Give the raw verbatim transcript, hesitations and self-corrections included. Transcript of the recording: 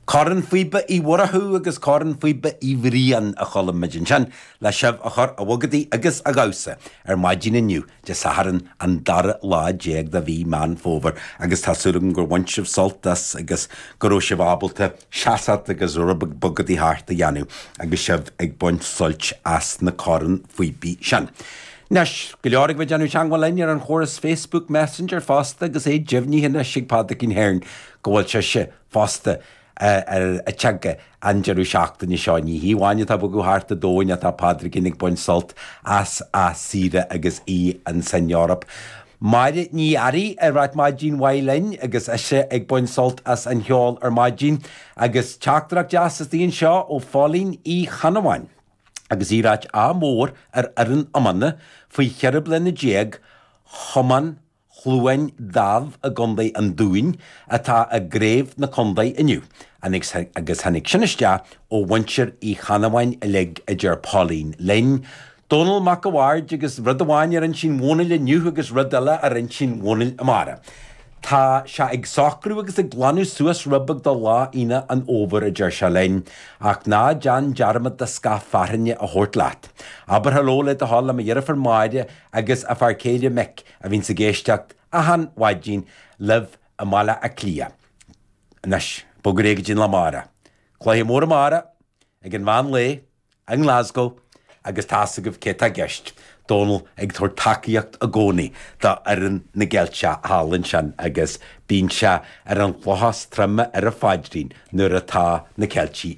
Corn Phíbe Uí Mhurchú agus Corn Phíbe Uí Bhriain a chuala muid ansin le sibh a chur a bhogadaí agus a dhamhsa ar maidin inniu Dé Sathairn an dara lá déag de mhí Meán Fómhair agus tá súil agam gur bhain sibh sult as agus go raibh sibh ábalta seasamh agus rud beag bogadaí thart a dhéanamh agus sibh ag baint suilt as na corn phíobaí sin. Anois, go leor ag bheith déanamh teagmháil linn ar an chóras Facebook Messenger fosta agus é deimhnithe anois ag Pádraigín Hearn go bhfuil sise fosta ar a teanga an deireadh seachtaine seo ní hí amháin atá ag bogadh thart an domhain atá Pádraigín ag baint sult as a saoire agus í ansan Eoraip. Máire Ní Fhearraigh ag ráit maidin mhaith linn agus ise ag baint sult as an cheol ar maidin agus teachtaireacht deas istigh anseo ó Phóilín Uí Chanabháin. agus í ag ráit ádh mór ar fhoireann iomána faoi cheithre bliana déag Chumann Chluain Daimh i gContae an Dúin atá i gcraobh na contae inniu agus tháinig sin isteach ó mhuintir Uí Chanabháin uilig a deir Pauline linn. Dónal Mac a' Bhaird agus rud amháin ar intinn Dhónaill inniu agus rud eile ar intinn Dhónaill amárach. Tá sé ag socrú agus ag glanadh suas rud beag do lá Aoine an Fhómhair a deir sé linn, ach ná déan dearmad do scaif fearthainne a thabhairt leat. Abair hello le do thoil le mo dheirfiúr Máire agus a fear céile Mick a bhíonns ag éisteacht achan mhaidin libh i mBaile Átha Cliath. Anois, bog ar aghaidh go dtí an lá amárach. Cluiche mór amárach ag an mheán lae i nGlasgow agus tá's agaibh cé tá i gceist. Dónal ag tabhairt tacaíocht i gcónaí do fhoireann na gCeilteach thall ansin agus bíonn sé ar an chloch is troime ar a phaidrín nuair atá na Ceiltigh